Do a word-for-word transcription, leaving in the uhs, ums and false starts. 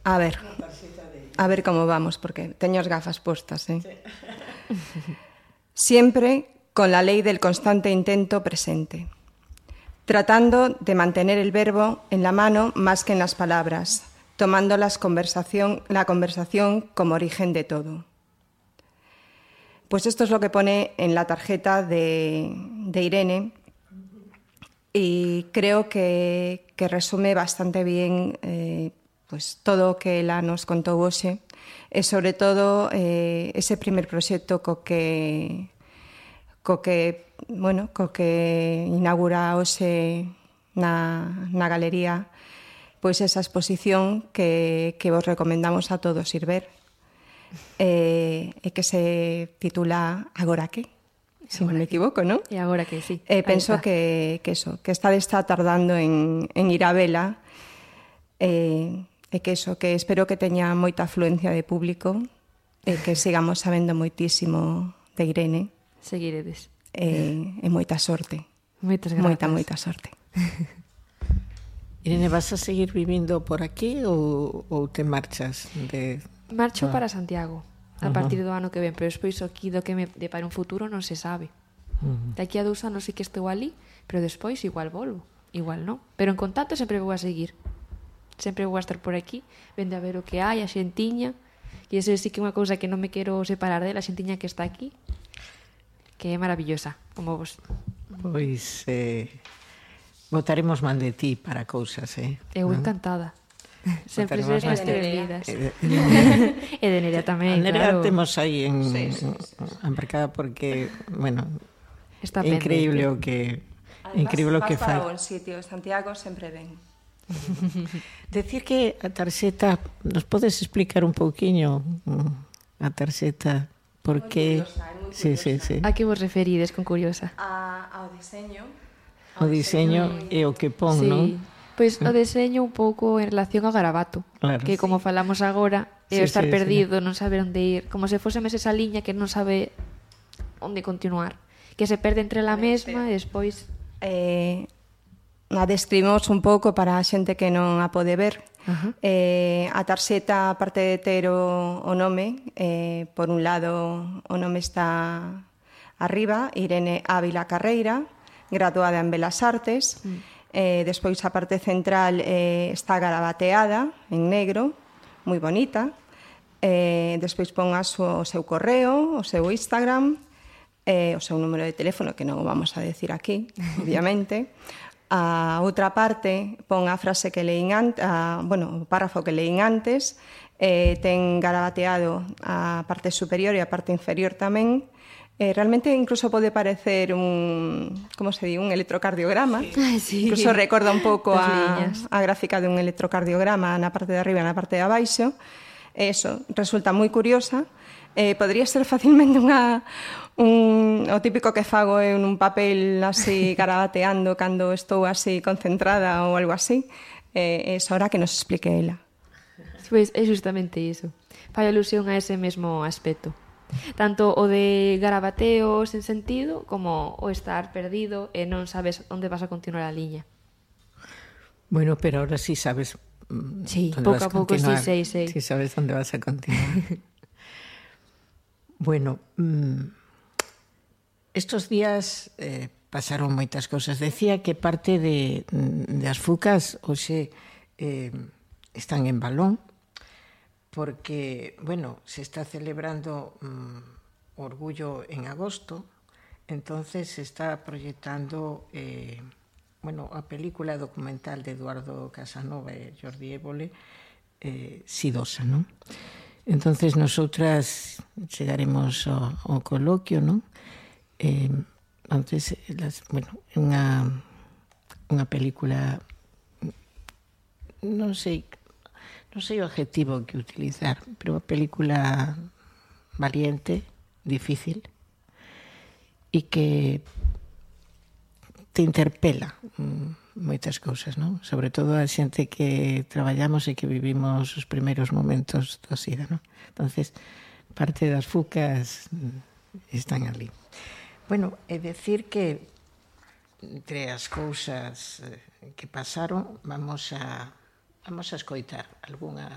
A ver, a ver como vamos, porque teño as gafas postas, eh? Sí. Siempre con la ley del constante intento presente, tratando de mantener el verbo en la mano más que en las palabras, tomando las conversación, la conversación como origen de todo. Pues esto es lo que pone en la tarjeta de, de Irene y creo que, que resume bastante bien eh, pues todo o que ela nos contou hoxe e sobre todo eh, ese primer proxecto co que co que, bueno, co que inaugura hoxe na, na galería pois esa exposición que, que vos recomendamos a todos ir ver e, e que se titula Agora que? Se non me equivoco, non? E agora que sí. Eh, penso que, que eso, que está, está tardando en, en ir a vela e, e que eso, que espero que teña moita afluencia de público e que sigamos sabendo moitísimo de Irene. Seguiredes. E, e moita sorte. Moitas grazas. Moita, moita sorte. Irene, vas a seguir vivindo por aquí ou, ou te marchas de... Marcho para Santiago a partir do ano que ven, pero despois aquí do que me depara un futuro non se sabe. De aquí a dous anos sí que estou ali, pero despois igual volvo, igual non. Pero en contacto sempre vou a seguir. Sempre vou a estar por aquí, vende a ver o que hai, a xentiña, e eso sí que é unha cousa que non me quero separar dela, a xentiña que está aquí, que é maravillosa, como vos. Pois eh, votaremos man de ti para cousas, eh? Eu encantada. Sempre Votaremos seres man máis de- trevidas. E de- E de Nerea tamén, A Nerea claro. temos aí en, Sí, sí, sí. embarcada porque, bueno, Está é increíble o pendente. que increíble o que fai. Para un sitio, Santiago sempre ven. Decir que a tarxeta, nos podes explicar un pouquiño mm, a tarxeta, por que... curiosa, é moi Sí, sí, sí. A que vos referides con curiosa? A, ao diseño. O diseño e o que pon, Sí. non? Pois o deseño un pouco en relación ao garabato, Claro. que como falamos agora, é Sí, o estar sí, perdido, non saber onde ir, como se fósemos esa liña que non sabe onde continuar, que se perde entre la mesma e despois... Eh, a describimos un pouco para a xente que non a pode ver. Ajá. Eh, a tarxeta, aparte de ter o, o nome, eh, por un lado o nome está arriba, Irene Ávila Carreira, graduada en Belas Artes. Mm. Eh, despois a parte central eh, está garabateada en negro, moi bonita. Eh, despois pon a súa, o seu correo, o seu Instagram, eh, o seu número de teléfono, que non o vamos a decir aquí, obviamente. A outra parte pon a frase que leín antes, a, bueno, o párrafo que leín antes, eh, ten garabateado a parte superior e a parte inferior tamén. Eh, realmente incluso pode parecer un, como se di, un electrocardiograma. Ai, sí. Incluso recorda un pouco As a, liñas. a gráfica de un electrocardiograma na parte de arriba e na parte de abaixo. Eso resulta moi curiosa. Eh, podría ser facilmente unha, un, o típico que fago en un papel así garabateando cando estou así concentrada ou algo así. Eh, é hora que nos explique ela. Pois é justamente iso. Fai alusión a ese mesmo aspecto. Tanto o de garabateo sen sentido como o estar perdido e non sabes onde vas a continuar a liña. Bueno, pero ahora sí sabes mm, Sí, dónde pouco vas a pouco sí continuar. sei, sei. Sí sabes dónde vas a continuar. Bueno, mm, estos días eh, pasaron moitas cousas. Decía que parte de, de as fucas hoxe eh, están en Balón, porque, bueno, se está celebrando mm, Orgullo en agosto, entonces se está proyectando eh, bueno, a película documental de Eduardo Casanova e Jordi Évole, eh, Sidosa, non? Entonces nosotras chegaremos ao, ao coloquio, non? Eh, entonces, las, bueno, unha unha película, non sei non sei o adjetivo que utilizar, pero unha película valiente, difícil, e que te interpela mm, moitas cousas, non? Sobre todo a xente que traballamos e que vivimos os primeiros momentos da SIDA, non? Entonces, parte das fucas mm, están ali. Bueno, é decir que entre as cousas eh, que pasaron, vamos a vamos a escoitar algunha